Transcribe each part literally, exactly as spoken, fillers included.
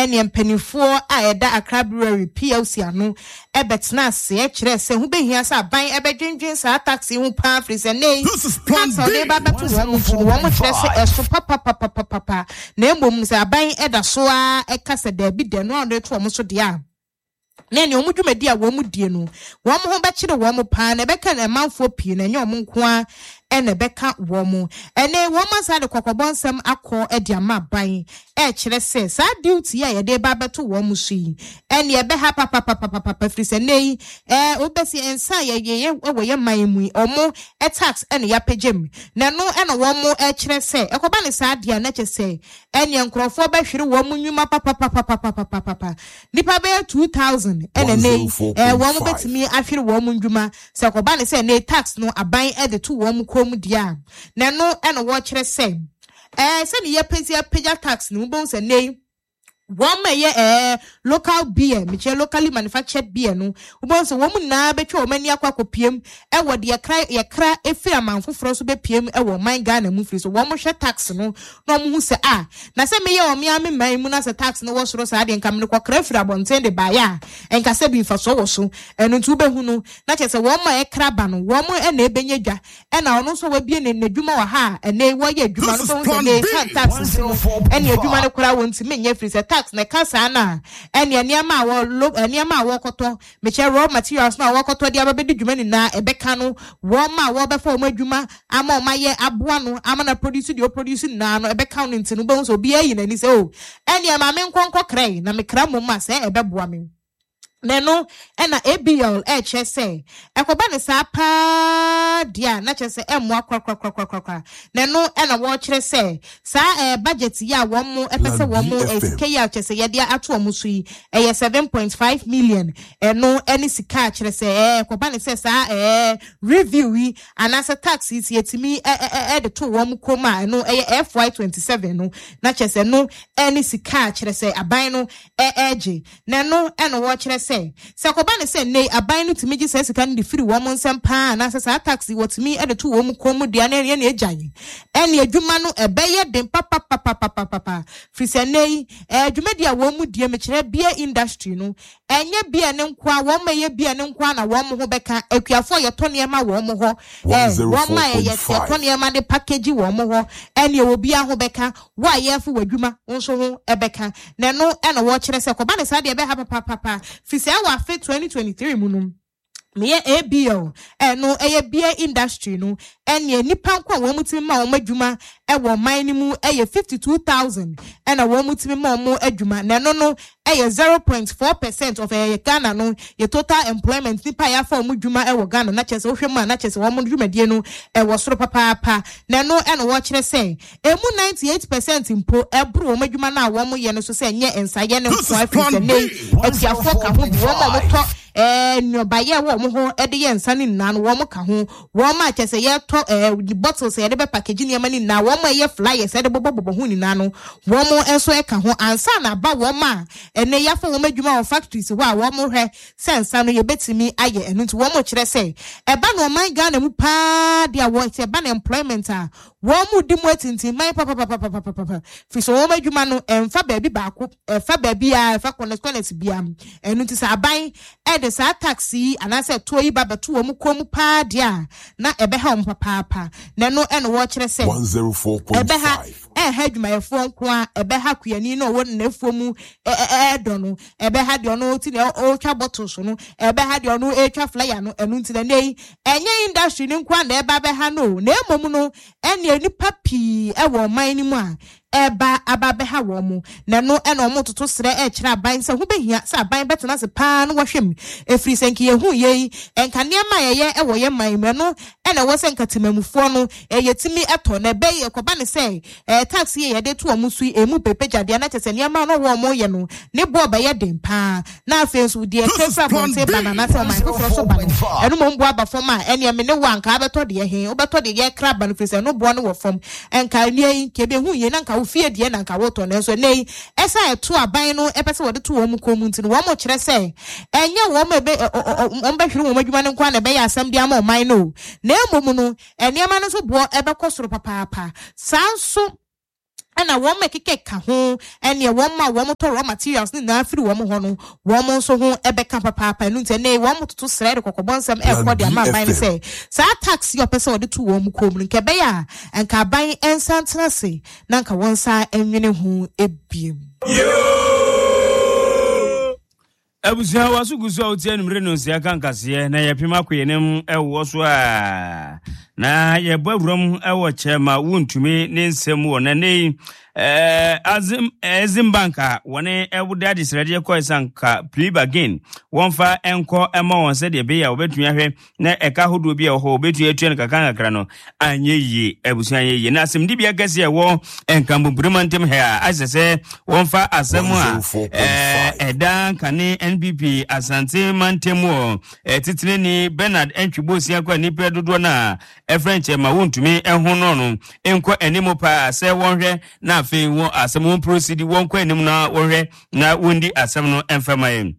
Ɛne mpanimfoɔ a ɛda Accra Brewery P L C ano ɛbɛtena ase ɛkyerɛ sɛ ho behia sɛ aban ɛbɛdwendwen saa tax ho paa, firi sɛ ne tax a ɔde ba bɛto wɔn mu nso no, wɔn kyerɛ sɛ ɛso papapapapapa. Na mmom sɛ aban ɛda so a ɛka sɛ daabi dɛ no a ɔde to wɔn so deɛ a, na nea wɔn dwumadi a wɔn die no, wɔn ho bɛkyerɛ wɔn paa na ɛbɛka ɛmanfoɔ pii, na ɛnyɛ wɔn nko ara ɛna ɛbɛka wɔn. Ɛnɛ wɔn asa de kɔkɔbɔ nsɛm akɔ ɛde ama aban, ɛkyerɛ sɛ saa duty a yɛde ba abɛto wɔn so yi, ɛne ɛbɛha papapapapapa, firi sɛ nne yi ɛɛ wobɛsi nsa a yɛyɛ wɔ yɛ man mu yi, ɔmo tax ɛna yɛapagya mu, na ɛno ɛna wɔn ɛkyerɛ sɛ ɛkɔba ne saa deɛ, na kyɛ sɛ ɛneɛ nkurɔfoɔ bɛhwere wɔn nnwuma papapapapapapapa. Nipa bɛyɛ two thousand ɛna nne yi ɛɛ wɔn bɛtumi ahwere wɔn nnwuma sɛ ɛkɔba ne sɛ ne tax no aban ɛde to wɔn kɔn mu deɛ a. Na ɛno ɛna wɔkyerɛ sɛ ɛɛ sɛne yɛpɛsi apagya tax no, wobɛhu sɛ nne yi wɔn a ɛyɛ ɛɛ local beer, mekyerɛ locally manufactured beer no, wobɛhu sɛ wɔn nyinaa bɛtwa wɔn ani akɔ akɔpiem ɛwɔ deɛ yɛkra yɛkra efiri aman foforɔ so bɛpiem ɛwɔ ɔman Ghana mu, firi so wɔn hwɛ tax no na wɔn ho sɛ a na sɛ meyɛ wɔn ame man mu na sɛ tax no wɔ soro saa deɛ, nka mene kɔkra firi abɔnten de baeɛ a, nka sɛ bi mfasoɔ wɔ so. Ɛno nti wobɛhu no na kyerɛ sɛ wɔn a ɛkra ba no, wɔn ɛna ɛbɛnya dwa, ɛna ɔno nso wabie ne n'adwuma wɔ ha a ɛnɛ wɔyɛ adwuma no, bɛhu sɛ ne tax no ɛne adwuma no koraa wɔn ntumi nyɛ, firi sɛ tax na ɛka saa na ɛne nneɛma a wɔ lo nneɛma a wɔkɔtɔ, mekyɛ raw materials na wɔkɔtɔ de aba bɛdi dwuma nyinaa, ɛbɛka no. Wɔn a wɔbɛfa wɔn adwuma ama wɔn ayɛ aboa no ama na produce deɛ ɔproduce nyinaa no, ɛbɛka no. Nti no bɛhu sɛ obiara yi n'ani sɛ o, ɛne maame nkɔnkɔ kra na mekra mmom a sɛ ɛbɛboa me. Na ɛno ɛna A B L ɛkyerɛ sɛ ɛkɔba ne saa paa deɛ a, na kyerɛ sɛ ɛmmoa korakorakorakorakora. Na ɛno ɛna wɔrekyerɛ sɛ saa ɛɛ budget yi a wɔn mo ɛpɛ sɛ wɔn mo ɛɛ sika yi a kyerɛ sɛ yɛde ato wɔn so yi, ɛyɛ seven point five million. Ɛno ɛne sika a kyerɛ sɛ ɛɛ ɛkɔba ne sɛ saa ɛɛ review yi anaasɛ tax yi ti yɛtumi ɛ ɛ ɛde to wɔn kɔn mu a, ɛno ɛyɛ F Y twenty seven no, na kyerɛ sɛ no ɛne sika a kyerɛ sɛ aban no ɛ ɛgye. Na ɛno ɛna wɔrekyerɛ sɛ sɛ kɔba ne sɛ nne aban no tumi gye saa sika no de firi wɔn nsɛm paa, anaasɛ saa tax wɔtumi de to wɔn kɔn mu deɛ, ne ɛne agya yi ɛne adwuma no ɛbɛyɛ den papapapapapapa, firi sɛ nne yi ɛɛ dwumadi a wɔn mu die, mekyerɛ beer industry no, ɛnyɛ beer ne nkoa wɔn a ɛyɛ beer ne nkoa na wɔn ho bɛka. Akuafoɔ yɛtɔ nneɛma wɔn hɔ, ɛɛ wɔn a yɛ yɛtɔ nneɛma de package wɔn hɔ, ɛne obiara ho bɛka. Wo a yɛfo wɔ adwuma nso ho ɛbɛka. Na ɛno ɛna wɔkyerɛ sɛ kɔba ne saa deɛ, ɛbɛha papapapa, firi sɛ ɛwɔ afe twenty twenty three mu no, meyɛ A B L, ɛno ɛyɛ beer industry no, ɛnea nipa nko a wɔn tumi ma wɔn adwuma ɛwɔ ɔman no mu ɛyɛ fifty two thousand, ɛna wɔn tumi ma wɔn adwuma. Na ɛno no ɛyɛ zero point four percent of ɛyɛ Ghana no yɛ total employment, nipa a yɛafa wɔn adwuma ɛwɔ Ghana. Na kyerɛ sɛ wohwɛ mu a, na kyerɛ sɛ wɔn dwumadie no ɛwɔ soro papaapa. Na ɛno ɛna wɔkyerɛ sɛ emu ninety eight percent mpo ɛboro wɔn adwuma no a wɔn yɛ no so, sɛ nyɛ nsayɛ ne nko, afiri sɛ ne akuafoɔ ka ho bi, wɔn a wɔtɔ ɛɛ nnuabayɛ wɔ wɔn ho ɛde yɛ nsa ne nyinaa no, wɔn ka ho, wɔn a kyerɛ sɛ yɛtɔ ɛɛ bottles a yɛde bɛ package nneɛma ne nyinaa, wɔn a ɛyɛ flyers yɛde bɔbɔbɔbɔ ho nyinaa no, wɔn nso ɛka ho ansa na aba wɔn a ɛnɛ yɛafa wɔn adwuma wɔ factories hɔ a wɔn hwɛ sɛ nsa no yɛbɛtumi ayɛ. Ɛno nti wɔn kyerɛ sɛ ɛba no ɔman Ghana mu paa deɛ a, wɔ sɛ ɛba no employment a, wɔn mu di mu atintinman papapapapapapa, firi sɛ wɔn adwuma no ɛmfa baabi baako, ɛfa baabi a ɛfa corners corners bia. Ɛno nti sɛ aban ɛde saa tax yi anaasɛ toɔ yi ba bɛto wɔn kɔn mu paa deɛ a, na ɛbɛha wɔn papaapa. Na ɛno ɛna wɔkyerɛ sɛ ɛbɛha one oh four point five. Ɛha adwumayɛfoɔ nko a, ɛbɛha kuyani na ɔwɔ n'afuo mu ɛɛdɔ no, ɛbɛha deɛ ɔno ti na ɔretwa bottles no, ɛbɛha deɛ ɔno ɛretwa flyer no. Ɛno nti na nne yi ɛnyɛ industry no nko a na ɛba bɛha no o, na emom no ɛnea nipa pii ɛwɔ ɔman no mu a ɛba aba bɛha wɔn mo. Na ɛno ɛna wɔn toto serɛ ɛkyerɛ aban sɛ ho bɛhia sɛ aban bɛtena ase paa no wɔhwɛ mu, efiri sɛ nka yɛhu yɛ yi, nka nneɛma a yɛyɛ ɛwɔ yɛn man mu, ɛno ɛna ɛwɔ sɛ nka temamufoɔ no ɛyɛ timi ɛtɔ. Na ɛbɛyɛ ɛkɔba ne sɛ ɛɛ tax yi yɛde to wɔn so yi emu pepe gyadeɛ, na kyerɛ sɛ nneɛma no wɔn yɛ no ne boɔ bɛyɛ den paa. Na afei nso deɛ ɛfɛ fɛ abɔnten ba na anaasɛ ɔman foforɔ so ba no, ɛno mo mboa aba fam a, ɛnea me ne wo anka abɛtɔ deɛ he, wobɛtɔ deɛ yɛkra ba no, firi sɛ ɛno boɔ no wɔ fam. Nka nnua yi nka ebi yie na nka wo fie deɛ na nka wotɔ. Nanso ɛnɛ yi ɛsɛ ɛto aban no ɛpɛ sɛ wɔde to wɔn kɔn mu nti no, wɔn kyerɛ sɛ ɛnyɛ wɔn ebe wɔn bɛhwere wɔn adwuma no nko ara na ɛbɛyɛ asɛm de ama ɔman no o, na emom no nneɛma no nso boɔ ɛbɛkɔ soro papaapa. Saa nso Ɛna wɔn ɛkeka ho ɛne wɔn ma wɔn tɔ raw materials ne nyinaa firi wɔn hɔ no, wɔn nso ho ɛbɛka papaapa. Ɛno nti ɛnɛ wɔn toto srɛ de kɔkɔbɔ nsɛm ɛkɔ de ama aban no sɛ saa tax yi ɔpɛ sɛ ɔde to wɔn kɔn mu no, nka ɛbɛyɛ a nka aban nsa ntena ase na nka wɔn nsa nwene ho ebiem. Abusua, waso gu so a wotie anumere no nsia ka nkaseɛ na yɛpem akɔ yɛnim ɛwɔ so a na yɛbɔ awuram ɛwɔ Chairman Wontumi ne nsɛm wɔ na ne Exim Bank a wɔne ɛwode adesrɛdeɛ kɔɛ sɛ nka plea bargain wɔmfa ɛnkɔ ɛma wɔn sɛdeɛ ɛbɛyɛ a wɔbɛtumi ahwɛ na ɛka ahodoɔ bi a ɛwɔ hɔ wɔbɛtumi atua no kakra kakra no anyɛ yie. Abusua, anyɛ yie na asɛmdibea kɛseɛ ɛwɔ Nkambompirima ntam ha a ahyɛ sɛ wɔmfa asɛm a ɛda nkane N P P Asante mantam wɔ titenani Bernard Antwi Boasiako a nnipa dodoɔ no a ɛfrɛ nkyɛn ma Wontumi ɛho no no nkɔ anim paa sɛ wɔnhwɛ na afei wɔn asɛm wɔn proceed, wɔnkɔ anim na wɔhwɛ na wɔndi asɛm no ɛmfɛma yɛn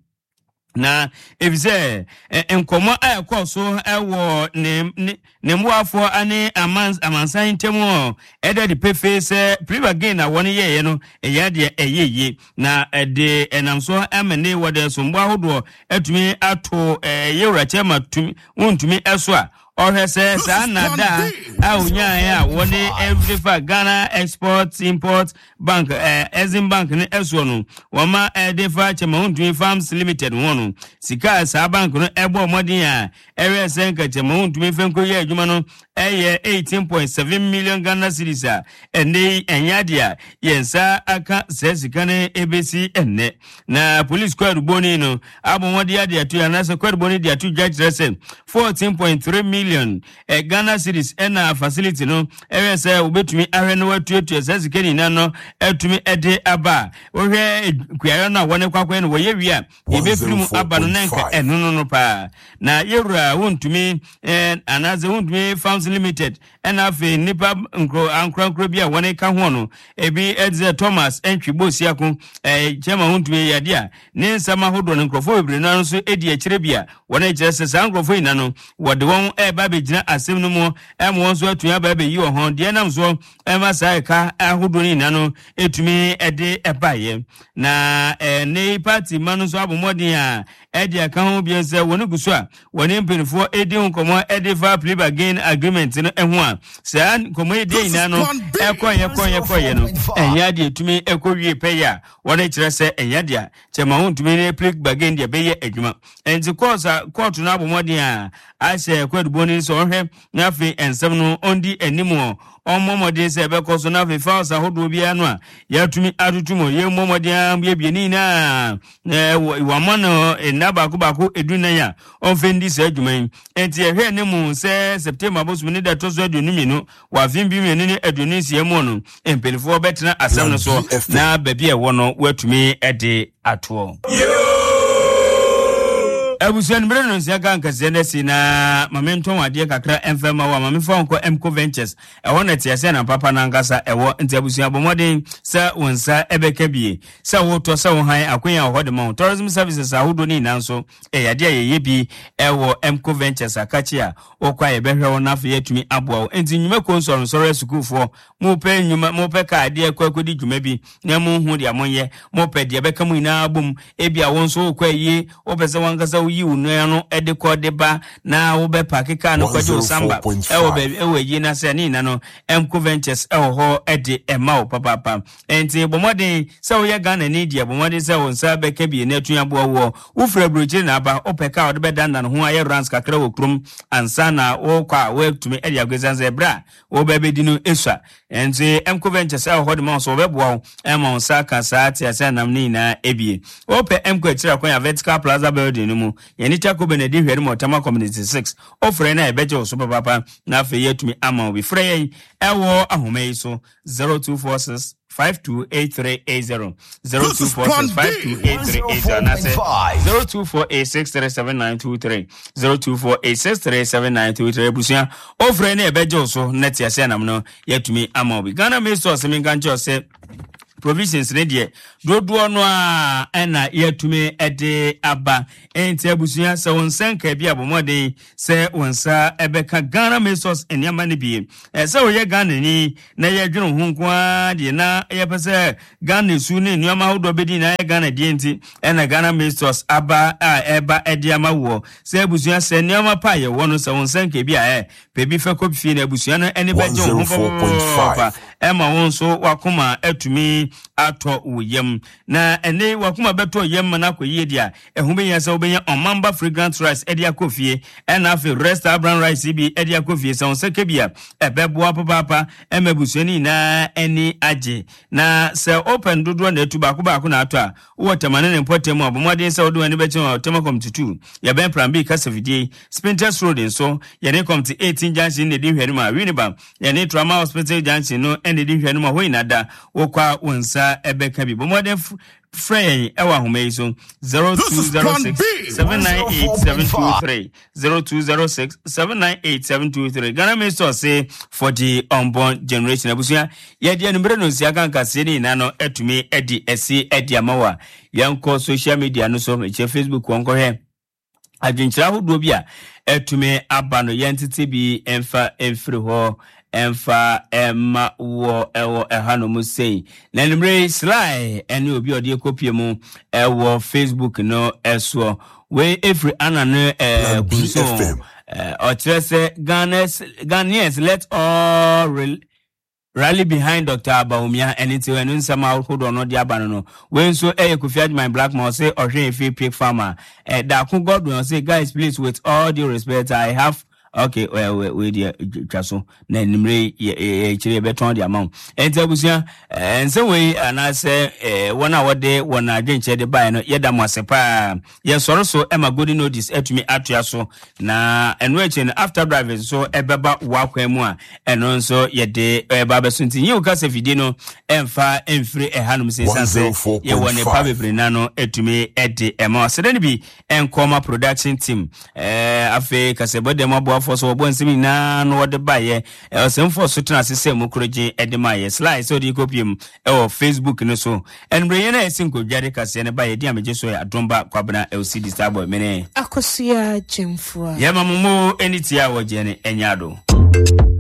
na efisɛ nkɔmɔ a ɛkɔ so ɛwɔ ne ne ne mmoafoɔ ne amans amansan ntam hɔ ɛda de pefee sɛ plea bargain a wɔn yɛɛyɛ no ɛyɛ adeɛ ɛyɛ yie na ɛde ɛnam so ɛma ne wɔde sombo ahodoɔ ɛtumi ato ɛɛ yɛwura Chairman tumi Wontumi ɛso a ɔhwɛ sɛ saa nada a onyaeɛ a wɔde ɛde fa Ghana Export Import Bank, ɛɛ Exim Bank ne ɛsoɔ no, wɔma ɛde fa Chairman Wontumi Farms Limited ho no, sika a saa bank no ɛbɔ ɔmɔden a ɛwɛ sɛ nka Chairman Wontumi fɛn ko yɛ adwuma no ɛyɛ eighteen point seven million Ghana cedis a ɛnɛ yi ɛnyɛ adeɛ a yɛn nsa aka saa sika no ebesi ɛnɛ. Na police kwaduboni no abɔ wɔn de ade ato anaasɛ kwaduboni de ato dwa kyerɛ sɛ fourteen point three million ɛ Ghana cedis ɛna facility no ɛwɛ sɛ wobɛtumi ahwɛ no watuatua saa sika nyinaa no ɛtumi ɛde aba a wohwɛ kuayɔ no a wɔne kwakɔɛ no wɔyɛ wie a yɛbɛfiri mu aba no na nka ɛno no no paa na yɛwura Wontumi ɛɛ anaasɛ Wontumi Farms Limited ɛna afei nnipa nkuro ankorankoro bi a wɔne ka ho no ebi ɛte sɛ Thomas Antwi Boasiako, ɛɛ Chairman Wontumi yɛde a ne nsɛm ahodoɔ no nkurɔfoɔ bebree no nso edi akyire bi a wɔn kyerɛ sɛ saa nkurɔfoɔ nyinaa no wɔde wɔn ɛreba abɛgyina asɛm no mu ɛma wɔn nso atumi aba abɛyi wɔn ho deɛ nam soɔ ɛma saa ɛka ahodoɔ no nyinaa no etumi ɛde ɛbaeɛ. Na ɛɛ ne party ma no nso abɔ mmɔden a ɛde aka ho bio sɛ wɔn gu so a wɔne mpanimfoɔ edi ho nkɔmɔ ɛde fa plea bargain agreement no ho a saa nkɔmɔ yi deɛ nyinaa no ɛkɔyɛ kɔyɛ kɔyɛ no ɛnyɛ adeɛ etumi ɛkɔ wie pɛyɛ a wɔde kyerɛ sɛ ɛnyɛ adeɛ Chairman Wontumi ne plea bargain deɛ bɛyɛ adwuma. Nti court a court no abɔ mmɔden a ahyɛ kwadubɔ no sɛ ɔhwɛ na afei nsɛm no ɔndi anim ɔ ɔmmɔ mmɔden sɛ ɛbɛkɔ so na afei files ahodoɔ biara no a yɛatumi atoto mu yɛmmɔ mmɔden a yɛbie ne nyinaa na wama no nna baako baako edu nan a ɔmfɛ ndi saa adwuma yi. Nti yɛhwɛ ne mu sɛ September abosom ne da ɛtɔ so aduonu mmienu wɔ afe bi mmienu ne aduonu nsia mu no, mpanimfoɔ bɛtena asɛm no so na baabi a ɛwɔ no wɔatumi de atoɔ. Abusua no mmerɛ no nsia ka nkɛseɛ no asi na ma mentɔn adeɛ kakra ɛmfɛ ma wo a ma memfa nkɔ Mco Ventures ɛhɔ na te sɛ na papa no ankasa ɛwɔ. Nti abusua, bɔ mmɔden sɛ wo nsa ɛbɛka bie sɛ wotɔ sɛ wo han akonya wɔ hɔ de ma wo. Tourism services ahodoɔ no nyinaa nso ɛyɛ adeɛ a yɛyɛ bi ɛwɔ Mco Ventures. Akakye a wokɔ a yɛbɛhwɛ wo na afei yɛatumi aboa wo. Nti nnwumakuo nsɔrensɔre, asukuufoɔ, mopɛ nnwuma, mopɛ kaa adeɛ kɔ akɔdi dwuma bi na monhu deɛ monyɛ, mopɛ deɛ bɛka mu nyinaa bom, ebi a wo nso wokɔ ayie, wopɛ sɛ wankasa woyi wo nua no de kɔ de ba na wobɛpark kaa no kɔgye wo samba ɛwɔ baabi ɛwɔ ayie na sɛ ne nyina no Mco Ventures ɛwɔ hɔ ɛde ɛma wo papaapa. Nti bɔ mmɔden sɛ woyɛ Ghana ni deɛ, bɔ mmɔden sɛ wo nsa bɛka bie na atumi aboa woɔ. Wofiri aburokyire na aba, wopɛ kaa wode bɛdandan ho ayɛ runs kakra wɔ kurom ansa na wokɔ a woatumi de akɔ ɛsiane sɛ ɛberɛ a wobɛ bɛdi no esua. Nti Mco Ventures ɛwɔ hɔ de ma wo so wɔbɛboa wo ɛma wo nsa ka saa te ase anam ne nyinaa ebie. Wopɛ Mco akyiri akwan a Vertical Plaza building no mu, yɛne Tako Benedi hwɛ no mu Ɔtama Community six. Wofrɛ no a yɛbɛgye wo so papaapa na afei yɛatumi ama wo bi. Frɛ yɛn ɛwɔ ahoma yi so: zero two four six five two eight three eight zero, zero two four six five two eight three eight zero, anaasɛ zero two four eight six three seven nine two three, zero two four eight six three seven nine two three. Abusua, ofrɛ ne ɛbɛgye wo so na te ase anam no yɛatumi ama wo bi. Ghana Maize Stores, menka nkyerɛ sɛ Provisions ne deɛ dodoɔ no a ɛna yɛatumi de aba. Enti abusua, sɛ wo nsa nka bi abɔ mmɔden sɛ wo nsa ɛbɛka Ghana Maize Source nneɛma no bi. Sɛ woyɛ Ghana ni na yɛdwene ho nko ara deɛ na yɛpɛ sɛ Ghana su ne nneɛma ahodoɔ bɛdi na yɛ Ghana deɛ nti ɛna Ghana Maize Source aba a ɛba ɛde ama woɔ. Sɛ abusua, sɛ nneɛma pa a yɛwɔ no, sɛ wo nsa nka bi a ɛ pɛ fɛ kɔ fie na abusua no ani bɛgye wo ho papaapa, ɛma wo nso wakoma atumi atɔ wo yam. Na ɛne wakoma bɛtɔ yam ma no akɔ yie deɛ a, ɛho bɛhia sɛ wobɛnya Ɔmamba fragrant rice ɛde akɔ fie, ɛna afei Rest brown rice bi ɛde akɔ fie. Sɛ wo nsa ka bi a, ɛbɛboa papaapa ɛma abusua no nyinaa ani agye. Na sɛ open dodoɔ na atu baako baako na atɔ a, wowɔ Tɛma ne ne mpɔtam mu a, bɔ mmɔden sɛ wode w'ani bɛkyerɛ wɔ Tɛma Community two, yɛbɛn Plan B kasafidie. Spintex Road nso, yɛne Community eighteen junction na ɛdi nhwɛanim a, Winneba, yɛne Trauma Hospital junction no ɛna ɛdi nhwɛanim a, hɔ nyinaa da wokɔ a wo nsa ɛbɛka bi. Bɔ mmɔden frɛ yɛn ɛwɔ ahoma yi so, zero two zero six seven nine eight seven two three, zero two zero six seven nine eight seven two three. Ghana Maize Source for the unborn generation. Abusua, yɛde anumere no nsia kankaseɛ ne nyinaa no atumi adi ɛsi adi ama wo a, yɛnkɔ social media no so, mekyerɛ Facebook, wɔn kɔhwɛ adwenkyerɛ ahodoɔ bi a ɛtumi aba no, yɛntete bi mfa mfiri hɔ ɛmfa ɛma wɔ ɛwɔ ɛhanom sei. Na anumere sly ɛne obi a ɔde ekopie mu ɛwɔ Facebook no ɛsoɔ, wei efiri ana no ɛɛ Kunso, ɔkyerɛ sɛ Ghanaians Ghanaians let all re rally behind Doctor Bawumia. Ɛne nti ɛno nsɛm ahodoɔ no de aba no no Wei nso ɛyɛ Kofi Adjuman Blackman, ɔsɛ ɔhwɛ efi Pig Farmer. Ɛ Daako Godwin ɔsɛ, "Guys, please, with all due respect, I have," okay, well, wei deɛ twa so na nimire yɛ yɛ yɛbɛtɔn de ama wo. Ɛnti abusua, nsɛm wei anaasɛ wɔn a wɔde wɔn adwenkyerɛ de baeɛ no, yɛda mo ase paa. Yɛsɔre so ɛma Golden Notice atumi atoa so, na ɛno akyi no, after drive nso ɛbɛba wakwan mu a, ɛno nso yɛde ɛba abɛso. Nti nyiw kasa fidie no ɛmfa ɛmfiri ɛhanom sɛ ɛsiane sɛ yɛwɔ nepa bebree na no atumi ɛde ɛma ɔsɛdɛ no bi ɛnkɔma production team. ɛɛ afei kasɛbɔ dɛm aboafoɔ so wɔbɔ nsɛm nyinaa no wɔde baeɛ, ɔsɛmfoɔ so tena ase sɛ mu korogye ɛde ma yɛ slide sɛ ɔde kɔpie mu ɛwɔ Facebook no so. Ɛnumere yɛn a yɛsi nkonnwa de kaseɛ no ba yɛdi amegye so yɛ Adomba Kwabena L C D Starboy mene Akosua Gyemfoa. Yɛma mo mo ani tie a wɔgye no ɛnyɛ ado.